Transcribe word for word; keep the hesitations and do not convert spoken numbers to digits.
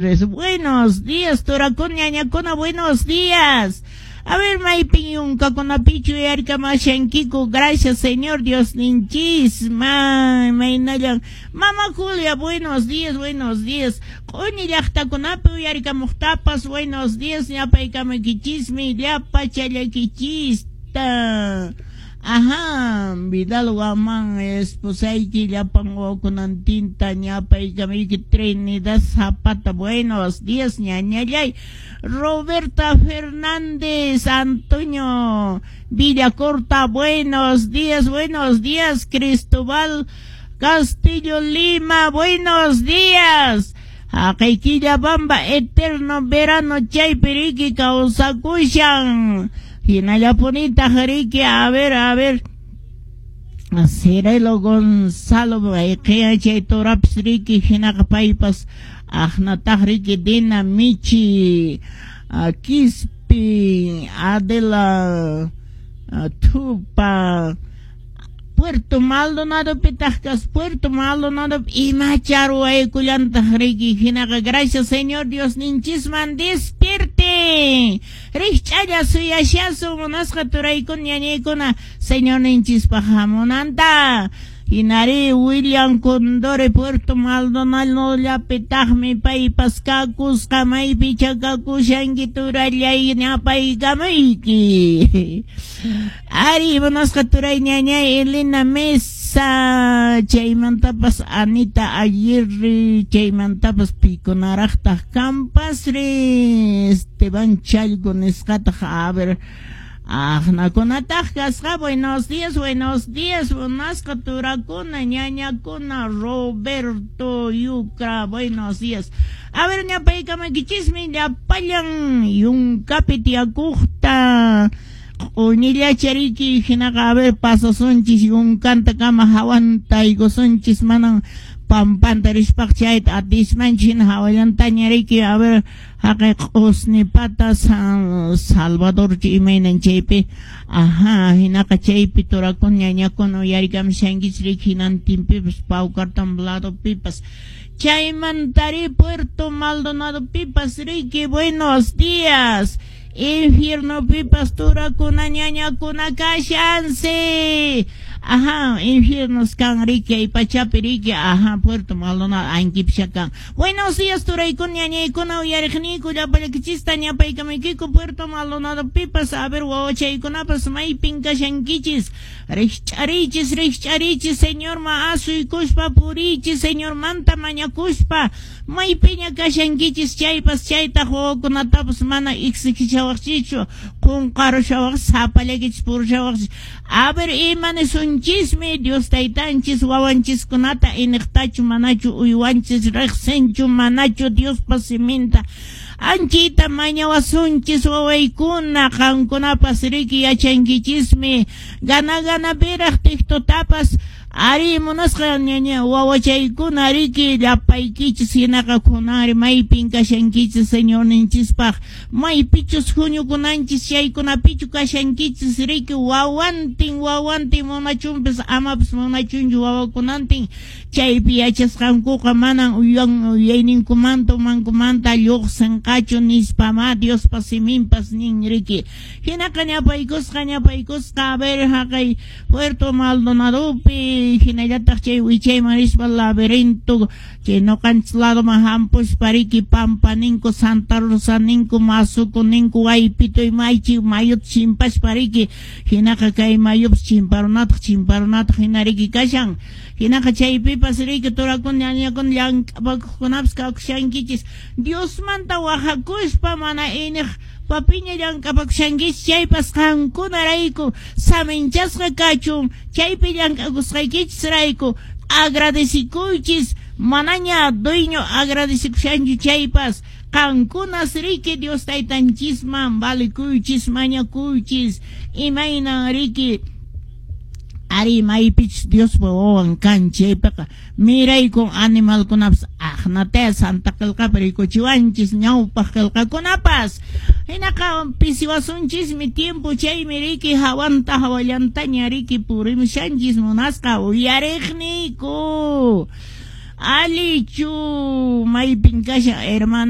Buenos días, turakuna, ñañakuna, buenos días. A ver, maypin yunkakunapichu uyarikamashankiku. Gracias, Señor Dios ninchis. Ma, maynallan. Mama Julia, buenos días, buenos días. Q'uñi llaqtakunapi uyarikamuqtapas, buenos días, ñapaykamakichismi, llapa challakichista. Ajá, Vidal Guamán, esposayki llapan wawakunantinta ñapaykamayki. Trinidad Zapata, buenos días, ñañallay. Roberta Fernández, Antonio Villacorta, buenos días, buenos días. Cristóbal Castillo Lima, buenos días. Haqay Quillabamba, eterno verano chaypi riki kawsakushan. Hinallapunitaq riki, a ver, a ver. Cirilo Gonzalo, mayqiya chay turapis riki, hinaqa paypas aqnataq riki Dina Michi, Quispi, Adela Tupa, Puerto Maldonado pitaq kas, Puerto Maldonado imacha ruwaykullantaq riki, hinaqa gracias, Señor Dios ninchisman. Despierte, rikch'alla suyashasun, munasqa turaykuna, ñañaykuna, Señor ninchispaq hamunanta. Hinari William Condore, Puerto Maldonado llapitaqmi paypas kakusqa. Maypicha kakushanki, turallay? Ñapaykamayki. Ari, munasqa turay, ñañay, Elena Mesa, chaymantapas Anita Aguirre, chaymantapas pikunaraqtaq kanpasri, Esteban Chalgo nisqataq, a ver. Aqnakunataq kasqa. Buenos días, buenos días, munasqa turakuna, ñañakuna. Roberto Yucra, buenos días. A ver, ñapaykamakichismi llapallan yunkapi tiyakuqta. Q'uñillacha riki, hinaqa a ver, pasasunchis yunkantakama, hawanta aykusunchis, manan pampanta rispaq chayta atismanchis, hina hawallantaña riki. A ver, haqay Q'usnipata, San Salvador imaynan chaypi. Ajá, hinaqa chaypi turakuna, ñañakuna uyarikamushankichis riki, hinantinpipas, Paucartambo ladopipas, chaymantari Puerto Maldonado pipas riki. Buenos días. Infierno pipas turakuna, ñañakuna kashansi. Ajá, infiernos kan riki ay pachapi riki. Ajá, Puerto Maldonado ankipisha kan. Buenos días, turaykuna, ñañaykuna, uyariqniyku llapallakichista ñapaykamaykiku Puerto Maldonado pipas. A ver, wawachaykunapas maypin kashankichis. Rikch'arichis, rikch'arichis, Señorman asuykuspa purichis, Señormanta mañakuspa. Maypiña kashankichis chaypas, chaytaq wawakunatapas mana exigishawaqchischu, qunqarushawaq, sapallakichis purushawaqchis. A ver, ima nisunchismi Dios taytanchis wawanchiskunata iniqtachu manachu uywanchis, riqsinchu manachu Diospa siminta? Anchita mañawasunchis, wawaykuna, qankunapas riki yachankichismi gana gana piraq TikToktapas. Ari, munasqa ñaña wawachaykuna riki llapaykichis, hinaqa kunanri maypin kashankichis Señorninchispaq, maypichus huñukunanchis chaykunapichu kashankichis riki, wawantin wawantin munachunpis amapas munachunchu wawakunantin chaypi yachasqankuqa manan uyan uyayninkumanta umankumanta lluqsinqachu nispama Diospa siminpas nin riki. Hinaqa ñapaykusqa, ñapaykusqa, a ver, haqay Puerto Maldonadopi, hinallataq chay wichayman rispa laberinto chay ñuqanchis ladoman hampuspa riki, Pampa ninku, Santa Rosa ninku, Masuku ninku, Waypito maychi mayuta chimpaspa riki, hinaqa kay mayupas chimparunataq chimparunataq hina riki kashan. Hinaqa chaypipas riki turakuna, ñañakuna, llank'apakuqkunapas kakushankichis, Diosmanta wahakuspa mana iniq papiña llank'apakushankichis chaypas, qankunarayku saminchasqa kachun chaypi llank'akusqaykichisrayku. Agradecikuychis, manaña dueño agradecikushanchu chaypas, qankunas riki Dios taytanchisman valikuychis, mañakuychis. Imaynan riki ari maypichus Diospa wawan kan chaypiqa miraykun animalkunapas, aqnataya Santa Qillqapi rikuchiwanchis ñawpaq qillqakunapas. Hinaqa pisiwasunchismi tiempo, chaymi riki hawanta hawallantaña riki purimushanchis, munasqa uyariqniyku. Alichu maypin kashan hermana.